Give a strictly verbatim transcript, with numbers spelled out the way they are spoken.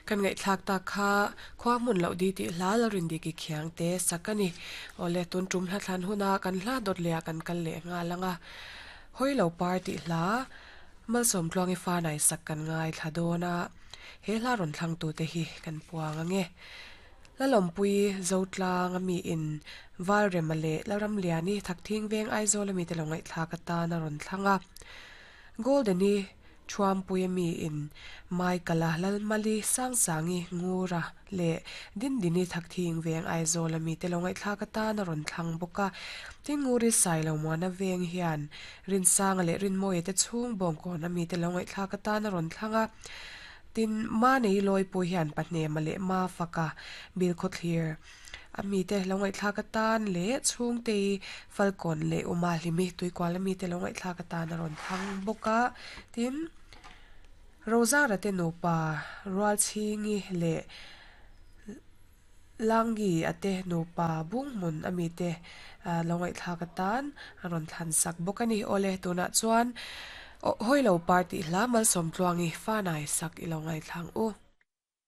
Kan ngai thlak ta kha khwa mun lo di ti hla lo rin di ki khiang te sakani ole tun tum hla thlan huna kan hla dot lea kan kal le nga langa hoi lo party hla malsom tluangi fa nai sak kan ngai thladona he hla ron thlang tu te hi kan puang ange lalom pui zotlang ami in valremale laram liani thakthing veng aizawl ami te lo ngai thla ka ta na ron thlanga goldeni thuam pui ami in maikala lalmali sang sangi ngura le din dini thakthing veng aizawl ami te lo ngai thla ka ta na ron thlang bawka tin nguri sai lo muana veng hian rin sang le rin moi te chung bawng kawn ami te lo ngai thla ka ta na ron thlanga tin ma nei loi pu hian pahne male ma faka bil kho thlir ami te lo ngai thla ka tan le chung te falcon le uma hlimi tuikwal ami te lo ngai thla ka tan a ron thlang bawka tin rozara te nupa rual chingi le langi ate nupa bung mun ami te lo ngai thla ka tan a ron thlan sak bawk ani ole tuna chuan hoi lo party hla malsom tluangi fa nai sak ilo ngai thlang u.